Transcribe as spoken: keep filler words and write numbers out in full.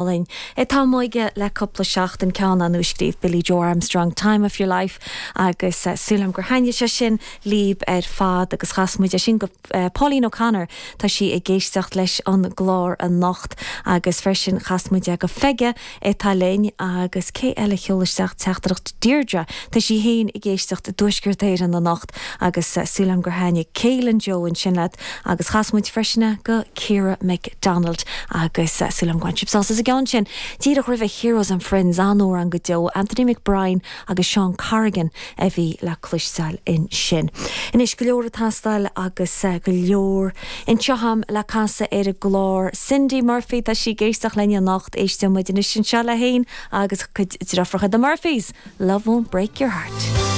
Linn. Tá muige le cúpla seachtain ceann a scríobh Billie Joe Armstrong Time of Your Life agus uh, súlam gur thaitnigh sé sin libh ar fad agus chas muid sin go uh, Pauline O'Connor tá sí ag éisteacht leis an gclár anocht agus freisin chas muid go Feige atá linn agus cé eile sheol isteach teachtaireacht Deirdre Tá sí féin ag éisteacht i dTuaisceart Éireann anocht agus uh, súlam gur thaitnigh Célan Joe ansin leat agus chas muid freisin go Ciara McDonald agus uh, súlam gwan sibh sásta gan sin. Díreach roimh Heroes and Friends an-amhrán go deo Anthony McBride agus Sean Corrigan a bhí le cloisteáil ansin. Anois go leor ag teastáil agus uh, go leor anseo agam le casadh ar an gclár Cindy Murphy tá sí ag éisteacht linn anocht éisteann muid anois anseo léi féin agus cuid deirfiúracha the Murphys. Love won't break your heart.